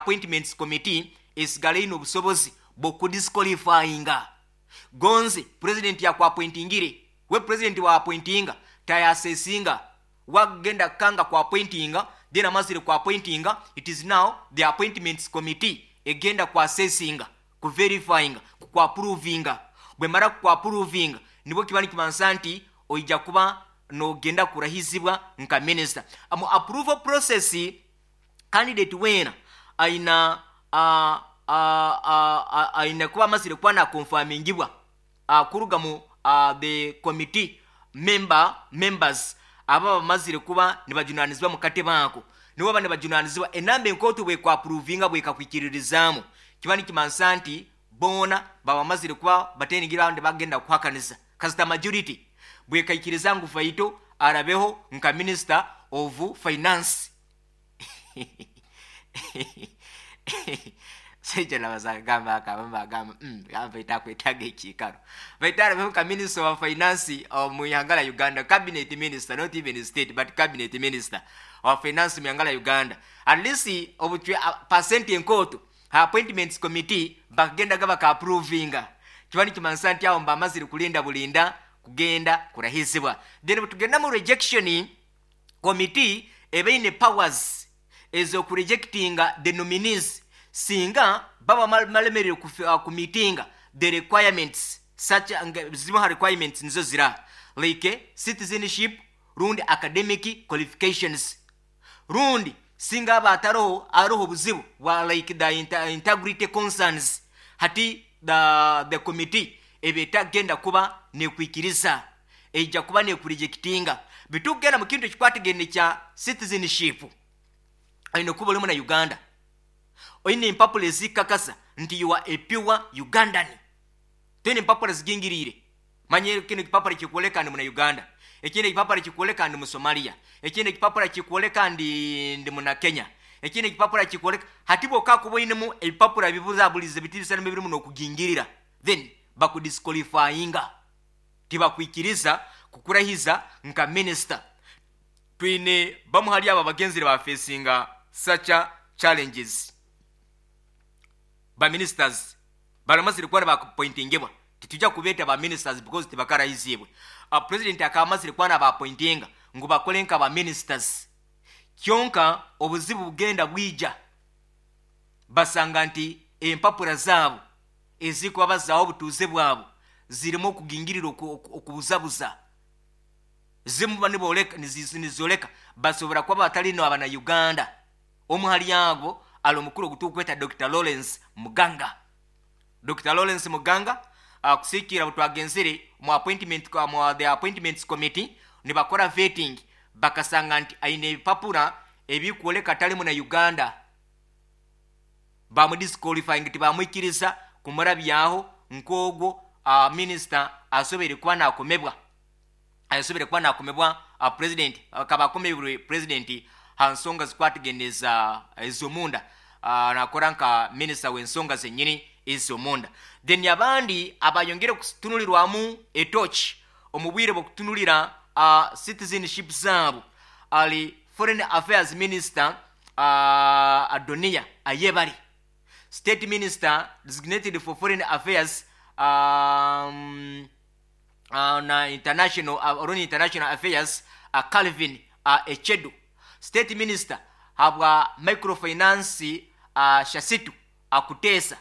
Appointments Committee esigala ine obusobozi bw'okudisqualifyinga. Gonze president yakuappointingire, we president wa appointinga tayasesinga, wagenda kanga ku appointinga, then amazire ku appointinga, it is now the Appointments Committee egenda ku assessinga, ku verifyinga, ku approvinga. Bwemara ku approvinga, nibwo kiba nikimansa nti oija kuba nogenda kurahizibwa nka minister. Mu approval process, candidate wena aina aina kuba amazire kuba nakonfamingibwa kuruga mu the committee members aba bamazire kuba nibajunanizibwa mu katebe ako. Nibo baba nibajunanizibwa enamba enkooto bwekwaprovinga, bwekakwikiririzaamu, kiba nikimansa nti boona baba bamazire kuba bateningira abandi bagenda kuhakaniza. Kasita majority bwekaikiriza ngu Faito arabeho nka Minister of Finance. Saija nabazagamba akabamba agamba, Faito akwetaaga ekiikaro. Faito arabeho nka Minister of Finance mu ihanga la Uganda, cabinet minister, not even state but cabinet minister of finance mu ihanga la Uganda. At least obucwe percent enkooto ha Appointments Committee bakagendaga baka-approvinga, kiba nikimanisa nti aho mbamazire kulinda bulinda kugenda kurahizibwa. Then bwetugenda mu rejection committee, eba powers ez'okurejectinga the nominees singa baba balemererwe kumeetinga the requirements, such zimu ha requirements nizo zira like citizenship rundi academic qualifications, rundi singa aba ataroho aroho obuzibu bwa like the integrity concerns. Hati the committee eba etagenda kuba nekwikiriza, ejja kuba nekurejectinga. Bitugenda mu kintu ekikwatagene kya citizenship, aine kuba olimu na Uganda, oine empapula ezikakasa nti you are a pure Ugandan. Toine empapula zigingiriire. Manye kino ekipapula kikwoleka ndi muna Uganda, ekindi ekipapula kikwoleka ndi Musomalia, ekindi ekipapula kikwoleka ndi muna Kenya, ekindi ekipapula kikwoleka. Hati bwokakuba oinemu ebipapula bibuzabulize bitibisana birimu n'okugingirira, then bakudisqualifyinga, tibakwikiriza kukurahiza nka minister. Twine bamu hali abo abagenzire bafacinga such challenges. Ba ministers baramazire kuba baappointingibwa, titujja kubeeta ba ministers because tibakarahizibwe. President akaba amazire kuba nabaappointinga ngu bakole nka ba ministers, kyonka obuzibu bugenda bwija, basanga nti empapula zaabo ezikuba bazaaho obutuuze bwabo zirimu okugingirira, okubuzabuza. Zimu niboleka nizoleka basobora kuba batali no abana Uganda. Omu hali abo ali omukuru ogutukweta Dr Lawrence Muganga. Dr Lawrence Muganga, kusikira butwagenzere mu appointment, mu the Appointments Committee, nibakora vetting, bakasanga nti aine ebipapula ebikwoleka atali muna Uganda. Bamudisqualifying, tibamwikiriza kumurabyaho nk'ogwo minister asobere kuba nakomebwa, asobere kuba nakomebwa president. Akaba akomebwe president ha nsonga zikwatageneza ez'omunda, nakora nka minister w'ensonga zenyini ez'omunda. Then abandi abayongere kutunulirwamu etochi omu bwire bw'okutunulira citizenship zaabo ali Foreign Affairs Minister Adonia Ayebare, State Minister designated for Foreign Affairs na international or international affairs, Calvin Echedu, State Minister habwa Microfinance, Shasitu Akutesa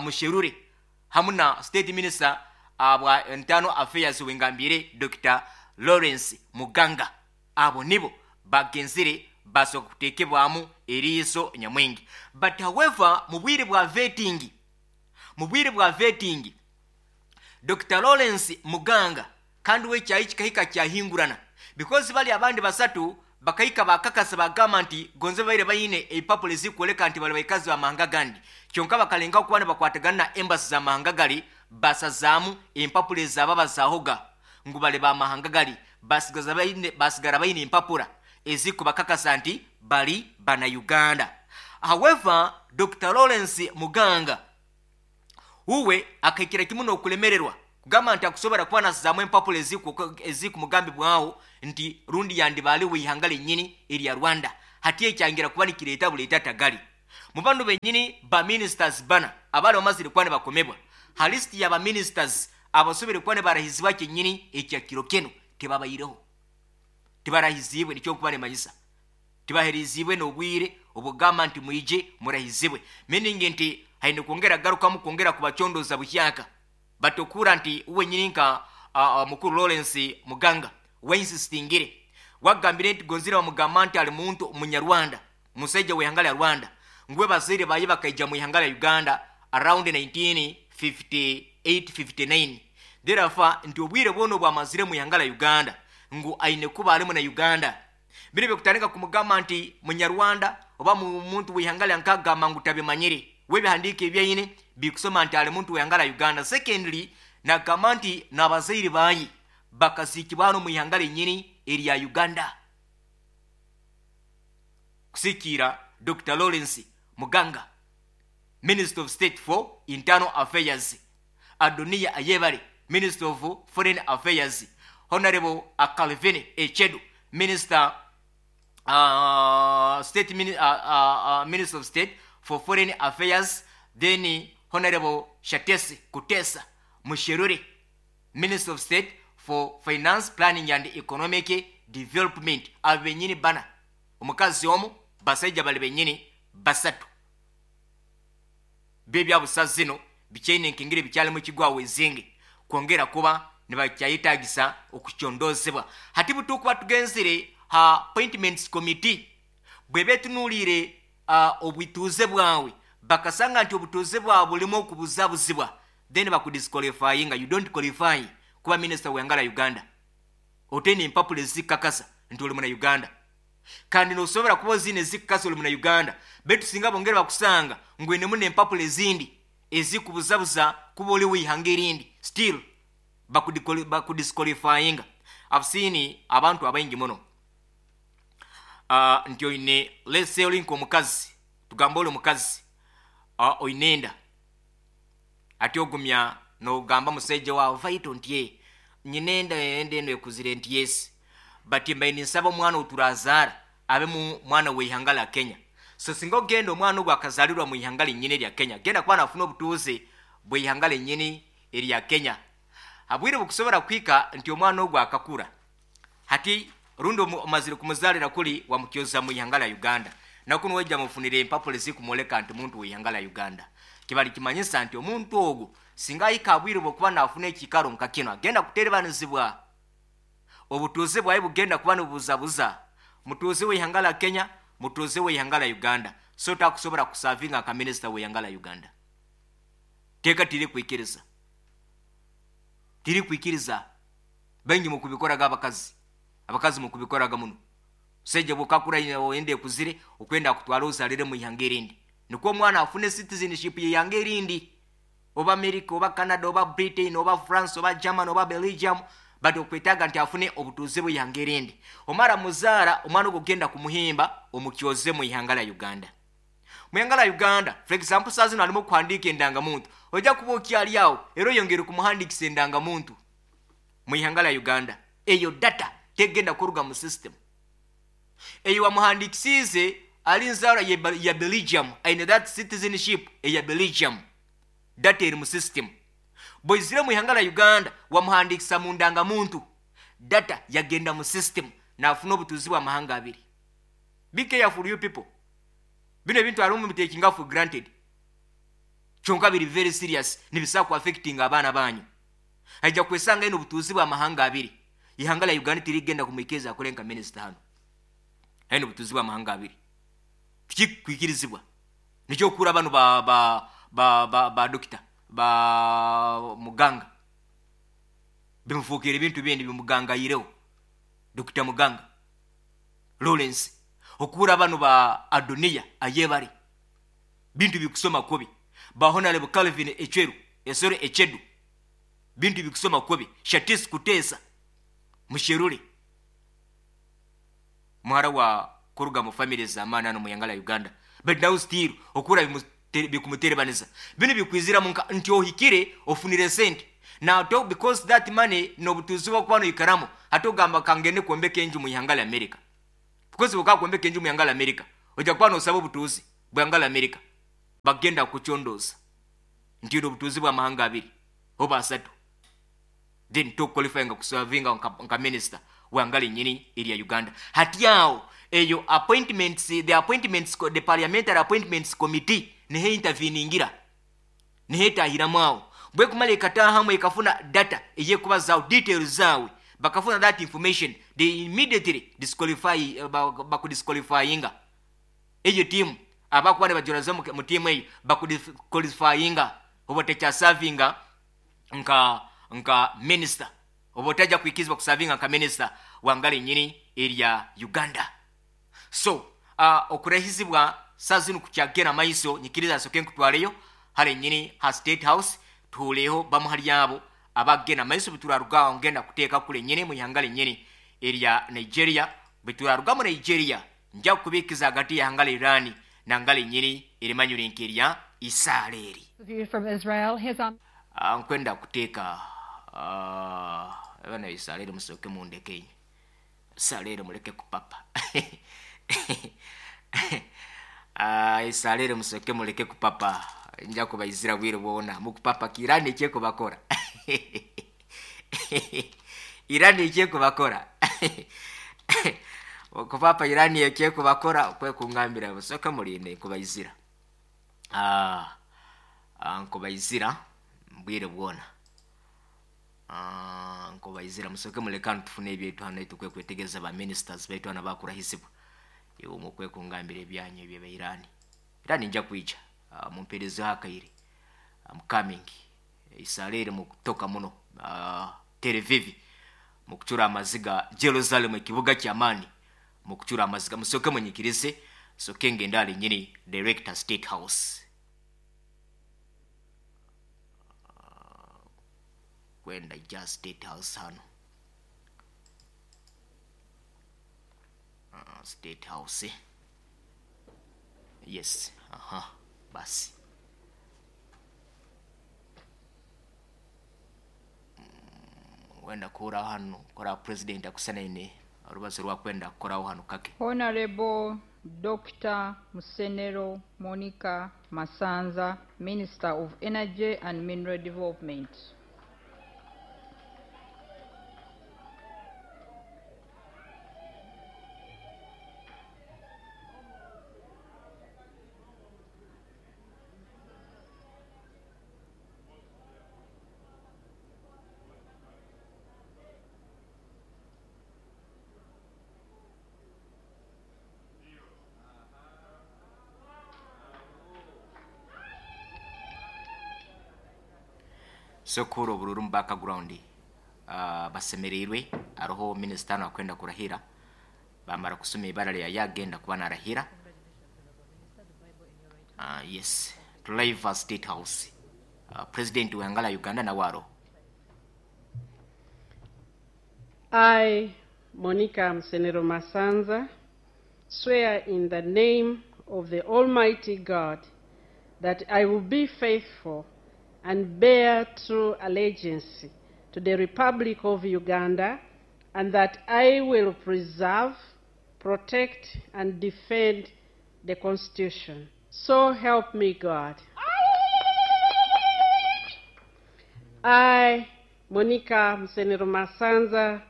Musherure, hamu na State Minister bwa Internal Affairs wengambire Dr Lawrence Muganga. Abo nibo bagenzire basobola kuteekebwamu eriiso nyamwingi. But however, mu bwire bwa vetting, mu bwire bwa vetting, Dr Lawrence Muganga kandi we kyayi kikahika kyahingurana, because bali abandi basatu bakahika bakakasa, bagamba nti gonze baire bayine ebipapula ezikwoleka nti bali baikazi bamahanga gandi, kyonka bakalengaho kuba nibakwatagana na embassy z'amahanga gali, basazaamu empapula ezaba bazahoga ngu bali bamahanga gali, basigara bayine empapula ezikubakakasa nti bali bana Uganda. However, Dr Lawrence Muganga uwe akahikira kimu n'okulemererwa kugamba nti akusobora kuba nasazaamu empapula ezikumugambibwaho nti rundi yandi bali w'ihanga lennyini erya Rwanda. Hati ekyangira kuba nikireeta buleeta tagali. Mu banu benyini ba ministers bana abali bamazire kuba nibakomebwa ha list ya ba ministers abasobere kuba nibarahizibwa kyenyini ekya kiro keno, tebabaireho, tibarahizibwe. Nikyo nkuba nimanyisa tibaherizibwe n'obwire obugamba nti mwije murahizibwe, meaning nti haine kwongera garukamu kwongera kubacondoza buhyaka. Batokura nti uwe nyini nka mukuru Lawrence Muganga wainsistingire, wagambire nti gonzire bamugamba nti ali muntu Munyarwanda, musaija w'ihanga lya Rwanda, ngwe bazaire baye bakaija mu ihanga lya Uganda around 1958 59, therefore nti obwire bwono bwamazire mu ihanga lya Uganda ngu aine kuba alimu na Uganda. Bino byokutandika kumugamba nti Munyarwanda oba muntu w'ihanga lya nkagamba ngu tabimanyire, webihandika ebyaine bikusoma nti ali muntu w'ihanga lya Uganda. Secondly, nagamba nti n'abazaire baye bakaziikibwa hano mu ihanga lyenyini erya Uganda. Kusikiira Dr. Lawrence Muganga, Minister of State for Internal Affairs, Adonia Ayebare, Minister of Foreign Affairs, Honorable Calvin Echedu, Minister State Minister of State for Foreign Affairs, then Honorable Shatesi Kutesa Musherure, Minister of State for Finance, Planning and Economic Development. Abo benyini bana, omukazi omu, basaija bali benyini basatu bebyabusa zino bikyaine nkengere bikyalimu kigwawo ezinge kwongera kuba nibakyayetagisa okukyondozebwa. Hati butukuba tugenzire ha appointments committee, bweba etunuulire obwituuze bwawe, bakasanga nti obutuuze bwawe bulimu okubuzabuzibwa, then bakudisqualifyinga. You don't qualify kuba minisita w'ihanga lya Uganda. Oteine empapula ezikakasa nti oli muna Uganda, kandi nosobora kuba ozine ezikakasa oli muna Uganda, betu singa bongere bakusanga ngu inemu n'empapula ezindi ezikubuzabuza kuba oli w'ihanga erindi, still bakudisqualifyinga. I've seen abantu abaingi muno nti oine, let's say oli nk'omukazi, tugamba oli omukazi, oine enda, ati ogumya nogamba musaija wawe vaito nti ye nyina enda, enda eno ekuzire, nti yes, but mbaine ninsaba omwana oturazaara abe mu mwana w'ihanga lya Kenya. So singa ogenda omwana ogwo akazalirwa mu ihanga lyenyini erya Kenya, genda kuba nafuna obutuuze bw'ihanga lyenyini erya Kenya. Habwire bukusobora kuhika nti omwana ogwo akakura, hati rundi omazire kumuzalira kuli wamukyoza mu ihanga lya Uganda, nakuno wajja mufunire empapula ezikumwoleka nti muntu w'ihanga lya Uganda, kibali kimanyisa nti omuntu ogwo singa ahika abwire bwokuba nafuna ekikaro nka kino, agenda kuterebanizibwa, obutuuze bwawe bugenda kuba nibubuzabuza, mutuuze w'ihanga lya Kenya, mutuuze w'ihanga lya Uganda, so takusobora kusavinga nka minisita w'ihanga lya Uganda. Teeka tiri kwikiriza, tiri kwikiriza. Baingi mukubikoraga, abakazi mukubikoraga muno. Musaija bwokakura oyenda ekuzire, okwenda kutwara ozalire mu ihanga erindi, nikwo omwana afune citizenship y'ihanga erindi, oba America, oba Canada, oba Britain, oba France, oba German, oba Belgium, but okwetaaga nti afune obutuuze bw'ihanga erindi. Omara muzaara omwana ogwo, ogenda kumuhimba omukyoze mu ihanga lya Uganda. Mu ihanga lya Uganda, for example, saa zino alimu okuhandiika endangamuntu, ojja kuba okyali awo era oyongere kumuhandikisa endangamuntu mu ihanga lya Uganda. Eyo data tegenda kuruga mu system. Eyo wamuhandikisiize ali nzaara ya Belgium, aine that citizenship eya Belgium, data eri mu system. Bw'oizire mu ihanga lya Uganda wamuhandikisa mu ndangamuntu, data yagenda mu system, nafuna obutuuzi bw'amahanga abiri. Be careful, you people. Bino ebintu alimu mubitakinga for granted, kyonka biri very serious, nibisobola ku affecting abaana banyu. Aija kwesanga ino obutuuzi bw'amahanga abiri, ihanga lya Uganda tirigenda kumwikiriza akole nka minisita hano aine obutuuzi bw'amahanga abiri. Tikikwikirizibwa. Nikyo okura bano ba dokita ba Muganga bimufuukira ebintu bindi bimugangayireho. Dokita Muganga Lawrence, okura bano ba Adonia Ayebare, bintu bikusoma kubi. Ba Honorable Calvin Echweru esore Echedu, bintu bikusoma kubi. Shatis Kutesa Musherure, muhara wa kuruga mu family z'amaani hano mu ihanga lya Uganda, but now still okura bikumuterebaniza. Bino bikwizira munka nti ohikire ofunire sente now to, because that money n'obutuuzi bwokuba noikaramu, hati ogamba kangende kwombeka enju mu ihanga lya America, because bwoka kwombeka enju mu ihanga lya America ojja kuba nosaba obutuuzi. Bwangala Amerika bagenda kukucondooza nti oine obutuuzi bw'amahanga abiri oba asatu, then tokuqualifyinga kuservinga nka minister wangala enyini erya Uganda. Hati aho eyo appointments, the appointments, the parliamentary appointments committee niho interveningira, niho etahiramu aho. Bwekumara ekatahamu ekafuna data eyekubazaho details zaawe, bakafuna that information, they immediately disqualify, bakudisqualifyinga. Eyo tiimu abakuba nibajoraza mu tiimu eyo bakudisqualifyinga, oba otakyaservinga nka minister, oba otajja kwikirizibwa kuservinga nka minister wangala enyini erya Uganda. So okurahizibwa saa zinu kukyagenda maiso, nyikiriza nsoke nkutwareyo hare nyini ha State House, tuhureho bamu hali abo abagenda maiso. Biturarugaho ngenda kuteeka kule nyini mu ihanga lenyini erya Nigeria. Bituraruga mu Nigeria nja kubikiza hagati ya hanga Iran na ngala enyini erimanyire nk'erya Israeli. From Israel, his Nkwenda kuteeka abana Israeli, musoke mundeke inye Israeli, muleke kupapa. Israeli musoke muleke kupapa, nja kubaizira bwire bwona mukupapa kirani ekyeko bakora Irani ekyeko bakora okupapa Irani ekyeko bakora kwe kungambira musoke mulinde nkubaizira. Nkubaizira mbwire bwona. Nkubaizira musoke muleka tufune ebyetu hano tukwe kwetegeza ba ministers baitu hano bakurahisibwa iwe mukwe kungambira ebyanyu ebye Irani. Irani nja kuija mumperezo hakaire, I'm coming. Israeli mukutoka muno Tel Aviv mukucura amaziga, Jerusalem ekibuga ky'amaani mukucura amaziga. Musoke munyikirize soke ngenda ali nyini director State House kwenda ja State House hano. State House, yes, aha, basi wenda kuraho hano kora president akusanaine orubazo rwakwenda kukoraho hano kake. Honorable Dr. Musenero Monica Masanza, Minister of Energy and Mineral Development. Sokoro bururu mu background basemereirwe aroho minister no akwenda kurahira, bamara kusoma ibara lya yagenda kuba narahira. Yes, live State House, President wangala Uganda na waro. I, Monica Musenero Masanza, swear in the name of the Almighty God that I will be faithful and bear true allegiance to the Republic of Uganda, and that I will preserve, protect, and defend the Constitution. So help me God. I, Monica Musenero Masanza,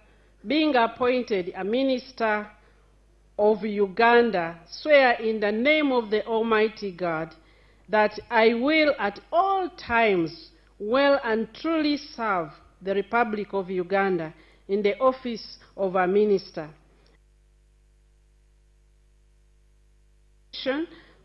being appointed a minister of Uganda, swear in the name of the Almighty God that I will at all times well and truly serve the Republic of Uganda in the office of a minister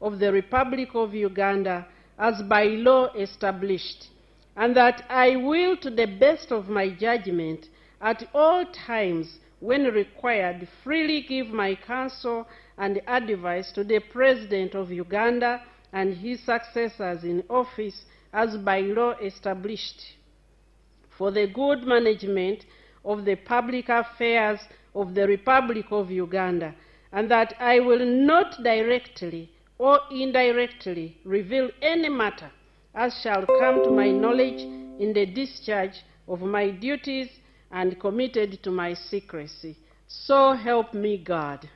of the Republic of Uganda as by law established, and that I will, to the best of my judgment, at all times when required, freely give my counsel and advice to the President of Uganda and his successors in office as by law established, for the good management of the public affairs of the Republic of Uganda, and that I will not directly or indirectly reveal any matter as shall come to my knowledge in the discharge of my duties and committed to my secrecy. So help me God.